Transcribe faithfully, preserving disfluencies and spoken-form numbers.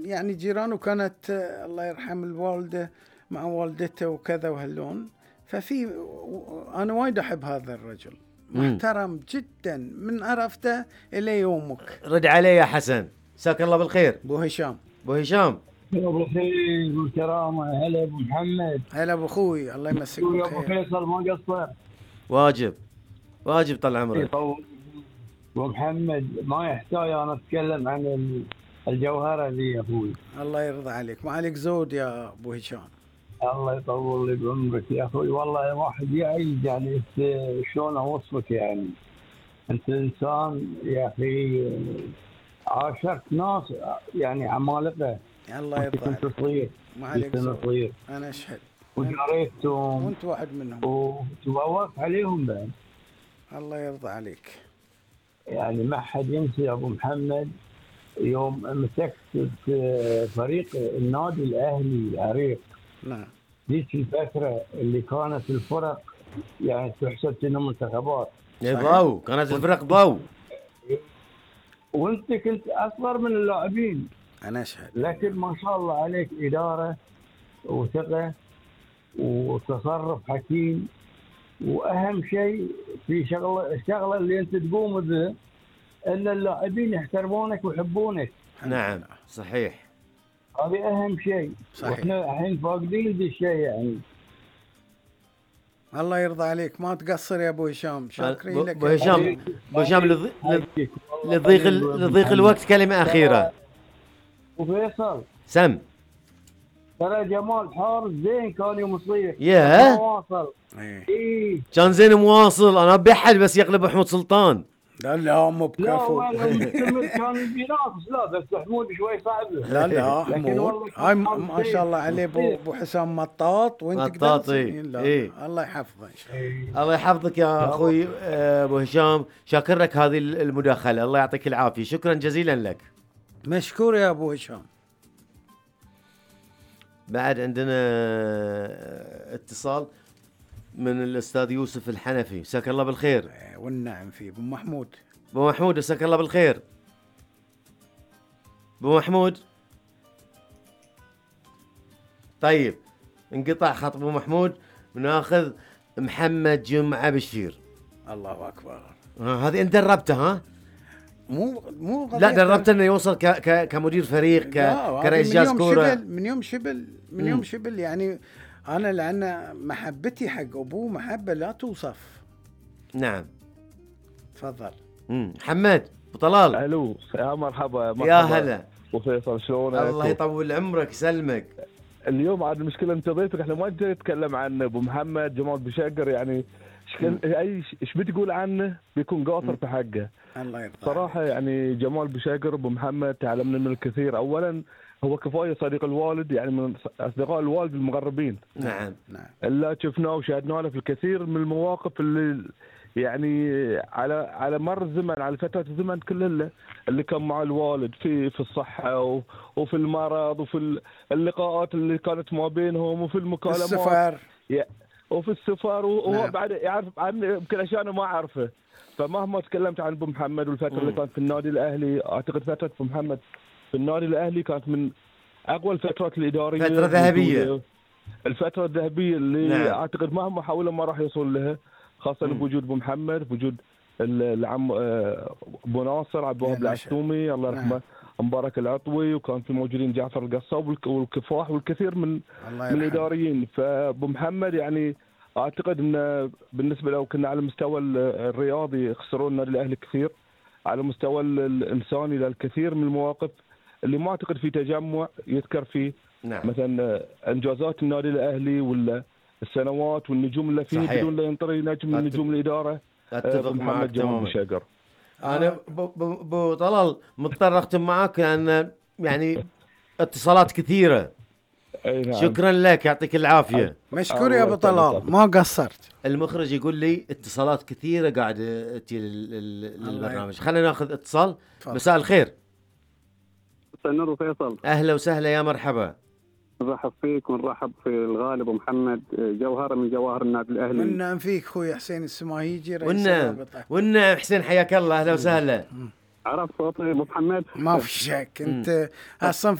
يعني جيران، وكانت الله يرحم الوالدة مع والدته وكذا وهاللون. ففي أنا وايد أحب هذا الرجل، محترم جدا من عرفته إلى يومك. رد علي يا حسن، مساك الله بالخير. أبو هشام. أبو هشام ابو خير والكرامه. هلا ابو محمد. هلا ابو اخوي، الله يمسك بالخير. ابو فيصل ما قصر. واجب واجب طال عمرك. ابو محمد ما يحتاج انا اتكلم عن الجوهره ذي يا اخوي. الله يرضى عليك، ما عليك زود يا ابو هشام. الله يطول لي بعمرك يا اخوي. والله واحد يعيش يعني شلون اوصفك، يعني انت انسان يا اخي عاشرت ناس يعني عمالقه. الله يرضى عليك. كنت صغير، ما عليك صغير، انا اشهد، ودريتهم وانت واحد منهم، وتبوقت عليهم بعد. الله يرضى عليك. يعني ما حد ينسى يا ابو محمد يوم مسكت في فريق النادي الاهلي العريق. نعم. ذيك الفتره اللي كانت الفرق يعني تحسب انها منتخبات. ضو كانت الفرق ضو، وانت كنت اصغر من اللاعبين. انا اشهد. لكن ما شاء الله عليك اداره وثقه وتصرف حكيم. واهم شيء في شغله الشغله اللي انت تقوم بها ان اللاعبين يحترمونك ويحبونك. نعم صحيح، هذه اهم شيء. واحنا الحين فاقدين ذا الشيء يعني. الله يرضى عليك، ما تقصر يا ابو هشام، شاكرين لك. ابو هشام ابو هشام لضيق لضيق الوقت كلمه اخيره. وفيصل سم ترى جمال حارس زين كان يوم صغير. ياه واصل. ايه كان زين مواصل. انا بحد بس يقلب محمود سلطان. لا لا مو بكفو. لا مستمر كان بينافس. لا بس محمود شوي صعب. لا لا محمود هاي ما شاء الله عليه. ابو حسام مطاط وانت مطاطي. لا إيه؟ الله يحفظه ان شاء الله. الله يحفظك يا اخوي ابو هشام. شاكر لك هذه المداخله، الله يعطيك العافيه، شكرا جزيلا لك. مشكور يا ابو هشام. بعد عندنا اتصال من الاستاذ يوسف الحنفي، مساك الله بالخير. والنعم فيه ابو محمود. ابو محمود مساك الله بالخير. ابو محمود طيب انقطع خط ابو محمود، وناخذ محمد جمعه بشير. الله اكبر. هذه انت دربته ها؟ مو مو لا دربته انه يوصل ك ك كمدير فريق ك كرئيس جهاز كوره. من يوم شبل من يوم شبل يعني. انا لان محبتي حق ابوه محبه لا توصف. نعم تفضل. امم محمد ابو طلال. الو يا مرحبا. مرحبا يا هلا وفيصل، شلونك؟ الله يطول عمرك يسلمك. اليوم عاد المشكله انت ضيفك، احنا ما نجي نتكلم عن ابو محمد جمال بشقر يعني. اي ايش بتقول عنه بيكون قاصر في حقه. الله يرضى صراحه عليك. يعني جمال بشقر ابو محمد تعلمنا من الكثير. اولا هو كفايه صديق الوالد، يعني من اصدقاء الوالد المقربين. نعم نعم اللي شفناه وشاهدناه له في الكثير من المواقف اللي يعني على على مر الزمن، على فتره الزمن كلها اللي كان مع الوالد في في الصحه وفي المرض وفي اللقاءات اللي كانت ما بينهم وفي المكالمات السفر وفي السفر. وهو نعم. بعد يعرف عن يمكن اشياء انا ما اعرفه. فمهما تكلمت عن ابو محمد والفتره م. اللي كانت في النادي الاهلي، اعتقد فتره ابو محمد في النادي الاهلي كانت من اقوى الفترات الاداريه، فتره ذهبيه، الفتره الذهبيه اللي نعم. اعتقد مهما حاولوا ما راح يوصل لها، خاصه م. بوجود ابو محمد، بوجود العم ابو ناصر عبد الوهاب العسومي الله يرحمه، نعم. مبارك العطوي، وكان في موجودين جعفر القصاب والكفاح والكثير من من الاداريين. فابو محمد يعني اعتقد انه بالنسبه له كنا على المستوى الرياضي خسروا النادي الاهلي كثير، على المستوى الانساني للكثير من المواقف اللي ما اعتقد في تجمع يذكر فيه. نعم. مثلا انجازات النادي الاهلي ولا السنوات والنجوم اللي فيه بدون لا ينطري نجم من نجوم الاداره. اتفق معك تماما. شاقر انا ابو طلال مضطر اختم معاك لان يعني اتصالات كثيره. نعم. شكرا لك يعطيك العافيه. مشكور يا ابو طلال ما قصرت. المخرج يقول لي اتصالات كثيره قاعده تجي للبرنامج. خلينا ناخذ اتصال. مساء الخير. نور وفيصل. اهلا وسهلا يا مرحبا. نرحب فيك ونرحب في الغالب ومحمد جوهره من جواهر النادي الاهلي. والنعم فيك اخوي حسين السماهيجي رئيس والنعم والنعم حسين حياك الله. اهلا وسهلا. عرفت صوتي ابو محمد؟ ما في شك انت اصلا في